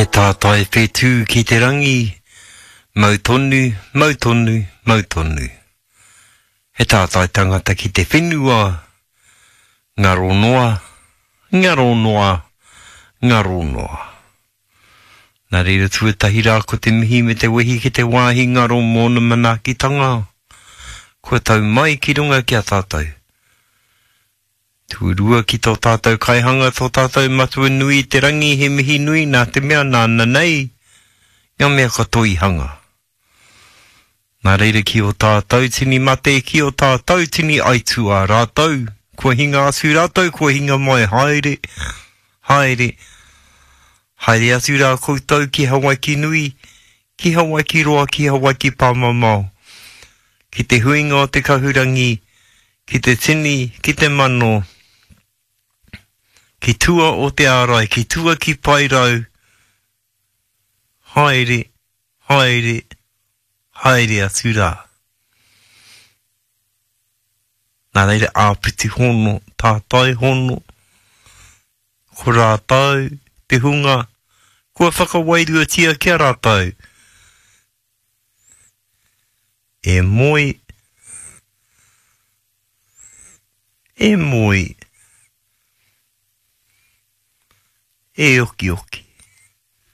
He tātai whetū ki te rangi, mau tonu, mau tonu, mau tonu. He tātai tangata ki te whenua, ngaro noa, ngaro noa, ngaro noa. Nā reira tuatahi rā ko te mihi me te wehi ki te wāhi ngaro mōna manaakitanga kua tau mai ki runga ki a tātou. Tuarua ki tō tātou Kaihanga, tō tātou Matua nui i te rangi, he mihi nui nā te mea nāna nei ngā mea katoa i hanga. Nā reira ki ō tātou tini mate, ki ō tātou tini aituā rātou, kua hinga atu rātou, kua hinga mai, haere, haere, haere atu rā koutou ki Hawaiki nui, ki Hawaiki roa, ki Hawaiki pāmamao, ki te huinga o te kahurangi, ki te tini, ki te mano, ki tua o te ārai, ki tua ki Paerau, haere, haere, haere atu rā. Nā reira, āpiti hono, tātai hono, ko rātou te hunga kua whakawairuatia ki a rātou, E moe, e moe, e okioki.